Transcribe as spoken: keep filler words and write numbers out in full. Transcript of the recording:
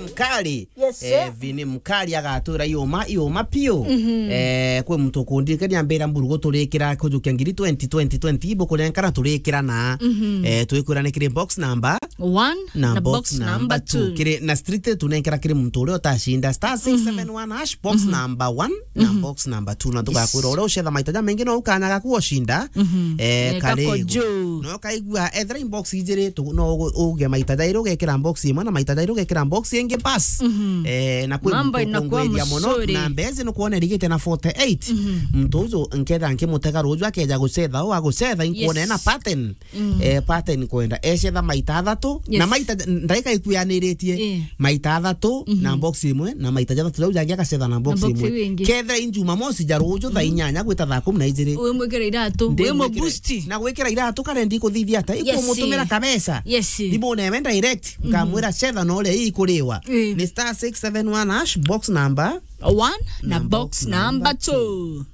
Mkali. Yes, eh, sir. Vini Mkali agatwira iuma, iuma piu. Mhm. Eh, kwi muntu ukundikania mbira mburugu turikira kujukia ngiri twenty, twenty, twenty, ibu kurenkana turikira na, mhm, eh, twikwira ni kiri box number one na na box box number number two. Kiri, na strictly tunenkera kiri muntu uria utacinda star six seven one hash, box, mhm, number one na, mhm, box number two. Na tugakwira, yes, uria ucetha maita jamaingi no ukanya gaku ucinda. Mhm. Eh, neka karigu. Kojo. No kaigua, ethira i box ijiri, tu-, no ugu-, uge maita jairi ugekira box imwe, na maita jairi ugekira box ingi, bas. Mhm. Eh, na kwi mambo muntu inakuwa ukunguiria muno, mzuri. Na mbezi nukwona irigite na forty-eight. Mhm. Muntu uju nketha nkimutega ruju akeja gucetha, u agucetha, inkuona, yes, ena pattern. Mm. Eh, pattern kwenda. Ecetha maita athatu, yes, na maita, ndaika ikuyaniritie. Eh. Maita athatu, mhm, na box imwe, na maita jathatu jau jangi agacetha na box, na box imwe, iu ingi. Kethira i Jumamosi ja ruju thaa, mhm, inyanya gwita thaa kumi na ijiri. Wimwikira iratu, ndimwikire, wimuboost. Na gwikira iratu kare ndikuthithia ata? Yes. Ikumutumira kabesa. Yes. Thimu newe direct, mhm, nkamwira cetha na uria ikuriwa. Eh. Ni star six seven one hash, box number one na, na box, box number, number two. Two.